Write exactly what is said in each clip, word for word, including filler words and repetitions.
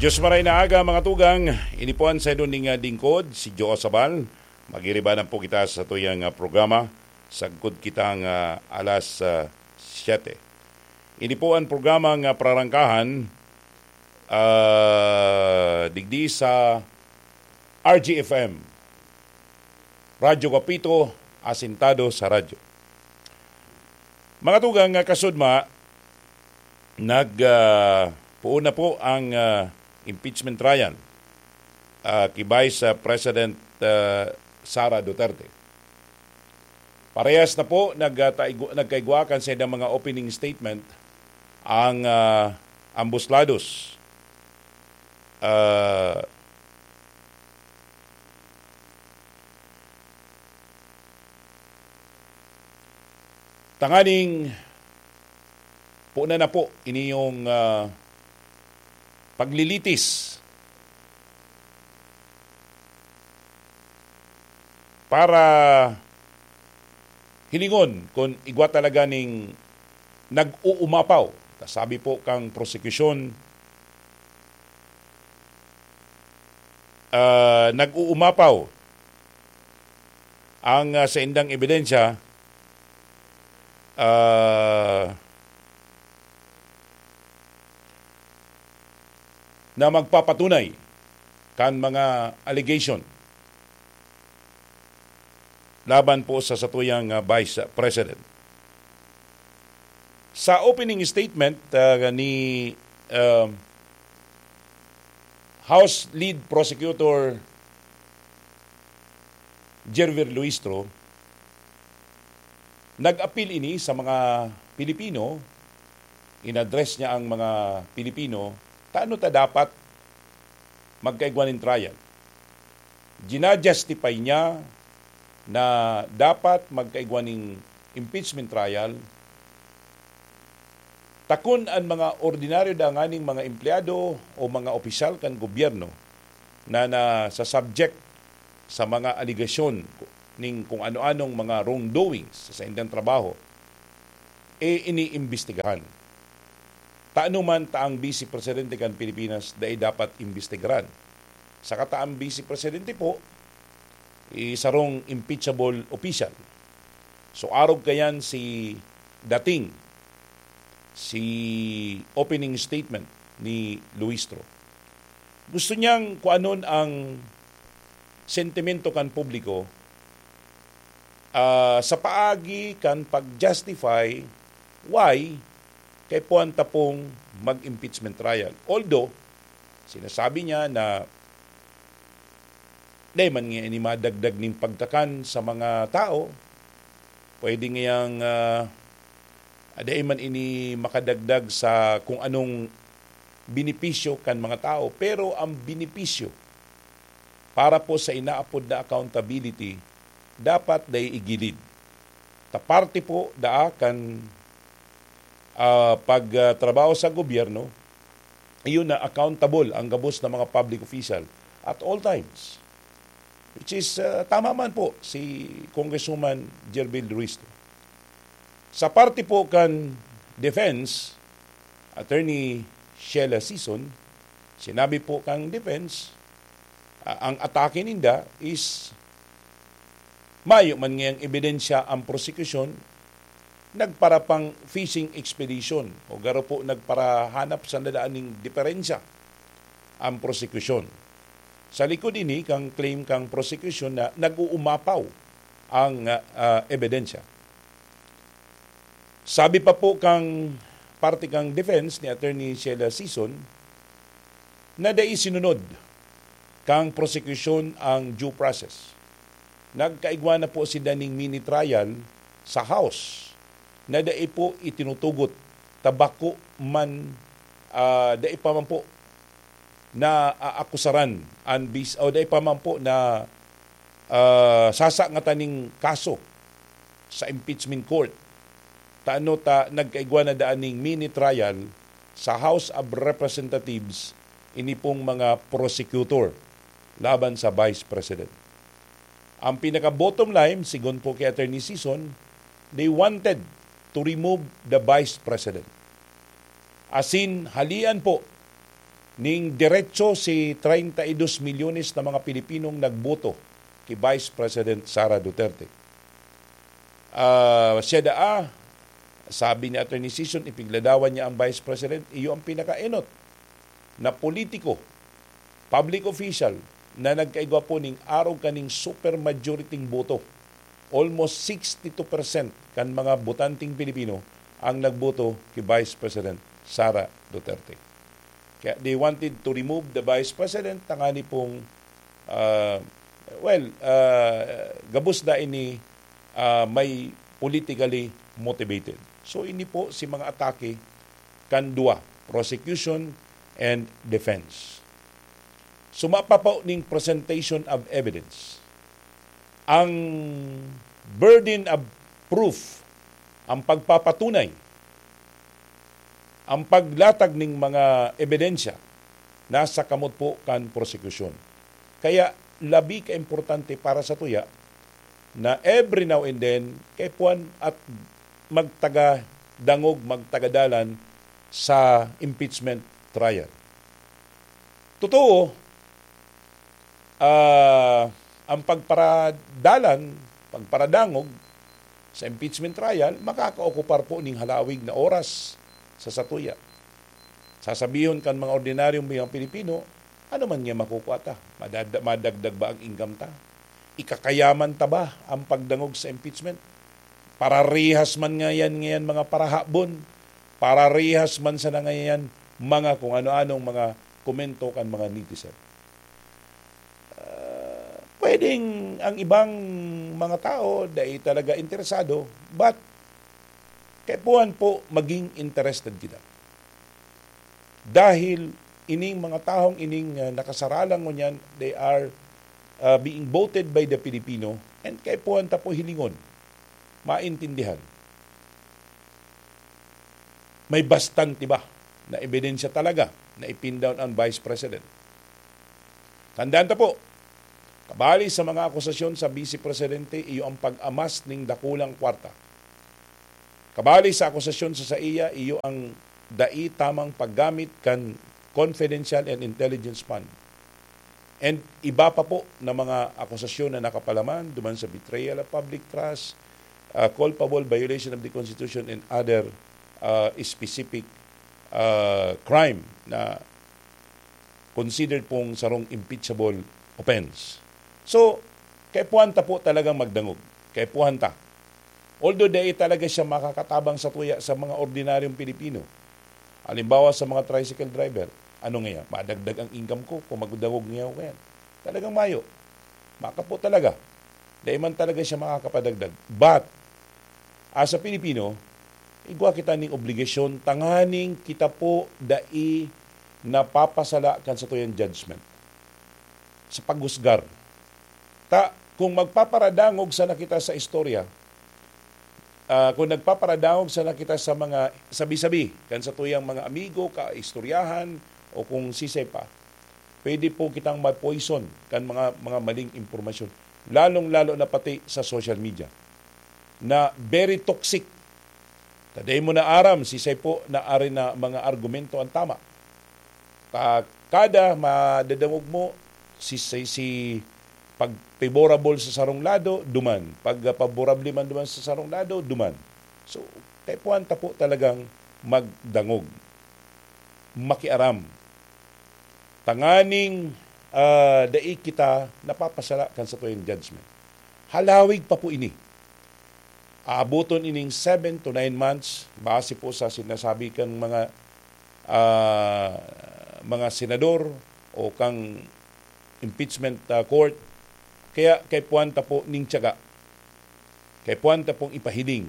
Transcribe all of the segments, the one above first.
Diyos maray na aga, mga tugang. Ini po an saindo ning, ah, lingkod, si Joe Sabal. Magiriba na po kita sa tuyang, ah, programa. Sagkod kita nga alas, ah, siyete. Ini po an programa nga prarangkahan, ah, digdi sa R G F M, Radyo Kapito, asintado sa radyo. Mga tugang, nga kasudma, nag, ah, puon na po ang, ah, impeachment trial, ah, ki Vice, ah, President, ah, Sara Duterte. Parehas na po, nag, ah, taigwa-, nagkaigwa kan sa mga opening statement ang, ah, ambos lados. Ah, tanganing punan na po ini yung, ah, paglilitis para hilingon kung igwa talaga ning nag-uumapaw. Sabi po kang prosekusyon, ah, nag-uumapaw ang, ah, saindang ebidensya, ah, na magpapatunay kan mga allegation laban po sa satuyang, ah, Vice President. Sa opening statement, ah, ni, ah, House Lead Prosecutor Gervil Luistro, nag-apil ini sa mga Pilipino, in-address niya ang mga Pilipino, ta ano ta dapat magkaigwa nin trial. Gina-justify niya na dapat magkaigwa nin impeachment trial, ta kun an mga ordinaryo danganing mga empleyado o mga opisyal kan gobyerno na nasa-subject sa mga alegasyon ning kung ano-anong mga wrongdoings sa saindang trabaho, e iniimbestigahan. Ta ano man ta ang Vice Presidente kan Pilipinas dai dapat imbestigaran. Saka ta ang Vice Presidente po, i-, sarong impeachable official. So, arog kayan si dating, si opening statement ni Luistro. Gusto niyang kuanon ang sentimento kan publiko, ah, sa paagi kan pag-justify why kaipuhan ta pong mag-impeachment trial. Although, sinasabi niya na dai man nga ini madagdag ning pagkakan sa mga tao, pwede ngayang, ah, dai man ini makadagdag sa kung anong benepisyo kan mga tao, pero ang benepisyo para po sa inaapod na accountability, dapat dai igilid. Ta parte po daa kan, ah, pag, ah, trabaho sa gobyerno, iyon na accountable ang gabos na mga public official at all times. Which is, ah, tama man po si Congresswoman Gervil Ruiz. Sa parte po kan defense, Attorney Sheila Sison, sinabi po kang defense, ah, ang atake ninda is mayo man ngayang ebidensya ang prosekusyon, nagpara pang fishing expedition o garo po nagparahanap sa nadaan ning diferensya ang prosekusyon. Sa likod ini kang claim kang prosekusyon na nag-uumapaw ang, ah, ah, ebidensya. Sabi pa po kang parte kang defense ni Attorney Sheila Sison na dai sinunod kang prosekusyon ang due process. Nagkaigwa na po sinda ning mini trial sa House na dai po itinutugot ta bako man, ah, dai pa man po na aakusaran an bis-, o dai pa man po na, ah, sasangatan ning kaso sa impeachment court. Ta ano ta nagkaigwa na daan ning mini trial sa House of Representatives ini pong mga prosecutor laban sa Vice President. Ang pinaka-bottom line, sigon po kay Attorney Sison, they wanted to remove the Vice President. Asin halian po ning derecho si treinta y dos milyones na mga Pilipinong nagboto ki Vice President Sara Duterte. Ah, siya daa, sabi ni Attorney Sison, ipigladawan niya ang Vice President, iyo ang pinakaenot na politiko, public official, na nagkaigwa po ning arog kaning super majority boto. Almost sixty-two percent kan mga botanteng Pilipino ang nagboto ki Vice President Sara Duterte. Kaya they wanted to remove the Vice President, tangani pong, ah, well, ah, gabos na ini, ah, may politically motivated. So, ini po si mga atake kan duwa, prosecution and defense. Suma pa po ning presentation of evidence. Ang burden of proof, ang pagpapatunay, ang paglatag ning mga ebidensya, nasa kamot po kan prosekusyon. Kaya labi ka importante para sa tuya na every now and then, kaipuhan at magtaga dangog, magtaga dalan sa impeachment trial. Totoo, ah, ang pagparadalan, pagparadangog sa impeachment trial, makakaokupar po ning halawig na oras sa satuya. Sasabihon kan mga ordinaryong mga Pilipino, "Ano man nga makukua ta? Madada-, madagdag ba ang income ta? Ikakayaman ta ba ang pagdangog sa impeachment? Pararihas man ngayan, ngayan mga parahabon, pararihas man sana ngayan mga kung ano-anong mga komento kan mga netizen." Ah, pwedeng ang ibang mga tao dai talaga interesado, but kaipuhan po maging interested kita. Dahil ining mga taong ining, ah, nakasaralang ngunyan, they are, ah, being voted by the Filipino, and kaipuhan ta po hilingon, maintindihan. May bastante ba na ebidensya talaga na ipindown ang Vice President? Tandaan ta po, kabali sa mga akusasyon sa Vice Presidente, iyo ang pag-amas ning dakulang kwarta. Kabali sa akusasyon sa saiya, iyo ang dai tamang paggamit kan confidential and intelligence fund. And iba pa po na mga akusasyon na nakapalaman duman sa betrayal of public trust, ah, culpable violation of the Constitution and other, ah, specific, ah, crime na considered pong sarong impeachable offense. So, kaipuhan ta po talagang magdangog. Kaipuhan ta. Although dai talaga siya makakatabang sa tuya sa mga ordinaryong Pilipino. Halimbawa sa mga tricycle driver, "Ano ngaya, madagdag ang income ko kung magdangog ngaya ako kayan?" Talagang mayo. Makapo talaga. Dai man talaga siya makakapadagdag. But, as a Filipino, igwa kita ning obligasyon tanganing kita po dai napapasala kan satuyang judgment sa paghusgar. Ta, kung magpaparadangog sana kita sa istorya, ah, kung nagpaparadangog sana kita sa mga sabi-sabi kan satuyang mga amigo, kaistoryahan, o kung sisay pa, pwede po kitang ma-poison kan mga, mga maling impormasyon, lalong-lalo na pati sa social media, na very toxic. Ta dai mo na aram sisay po na ari na mga argumento ang tama. Ta kada madadangog mo, si, si, si pag favorable sa sarong lado, duman. Pag, ah, paborable man duman sa sarong lado, duman. So, kaipuhan ta po talagang magdangog, makiaram, tanganing, ah, dai kita napapasala kan satuyang judgment. Halawig pa po ini. Aaboton ining seven to nine months, base po sa sinasabi kan mga, ah, mga senador o kang impeachment, ah, court. Kaya kaipuhan ta po ning tiyaga. Kaipuhan ta pong ipahiling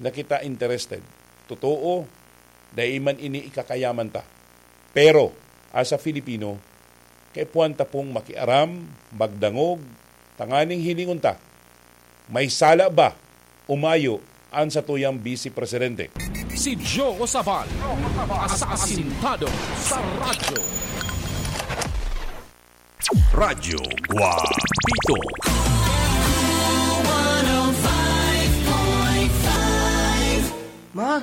na kita interested. Totoo, dai man ini ikakayaman ta. Pero, as a Filipino, kaipuhan ta pong makiaram, magdangog, tanganing hilingon ta, may sala ba o mayo an satuyang Vice Presidente? Si Joe Sabal, asasintado sa radyo. Radyo Guapito. Ma,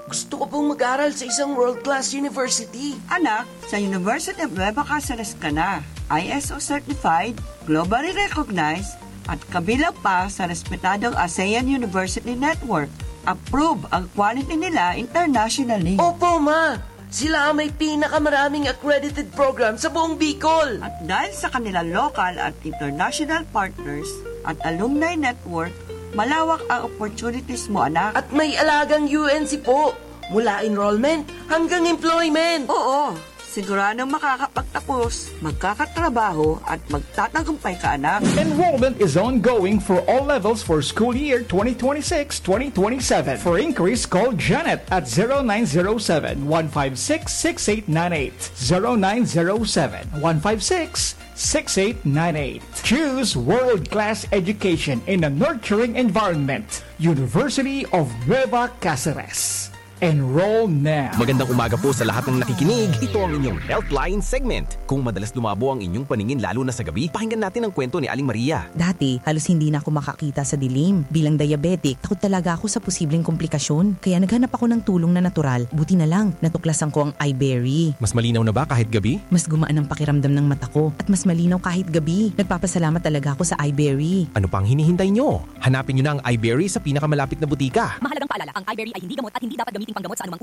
gusto Gusto ko pong mag-aral sa isang world-class university. Anak, sa University of Nueva Caceres ka na. I S O certified, globally recognized, at kabilang pa sa respetadong ASEAN University Network. Approve ang quality nila internationally. Opo, ma! Sila ang may pinakamaraming accredited program sa buong Bicol. At dahil sa kanilang local at international partners at alumni network, malawak ang opportunities mo, anak. At may alagang U N C po, mula enrollment hanggang employment. Oo, siguradong makakapagtapos, magkakatrabaho at magtatagumpay ka, anak. Enrollment is ongoing for all levels for school year twenty twenty-six twenty twenty-seven. For inquiries, call Janet at zero nine zero seven, one five six, six eight nine eight. zero nine zero seven, one five six, six eight nine eight. Choose world-class education in a nurturing environment. University of Nueva Caceres. Enroll now. Magandang umaga po sa lahat ng nakikinig. Ito ang inyong Healthline segment. Kung madalas lumabo ang inyong paningin lalo na sa gabi, pakinggan natin ang kwento ni Aling Maria. Dati, halos hindi na ako makakita sa dilim. Bilang diabetic, takot talaga ako sa posibleng komplikasyon. Kaya naghanap ako ng tulong na natural. Buti na lang, natuklasan ko ang iBerry. Mas malinaw na ba kahit gabi? Mas gumaan ang pakiramdam ng mata ko at mas malinaw kahit gabi. Nagpapasalamat talaga ako sa iBerry. Ano pang hinihintay nyo? Hanapin nyo na ang iBerry sa pinakamalapit na butika. Mahalagang paalala, ang iBerry ay hindi gamot at hindi dapat gamiting panggamot sa anumang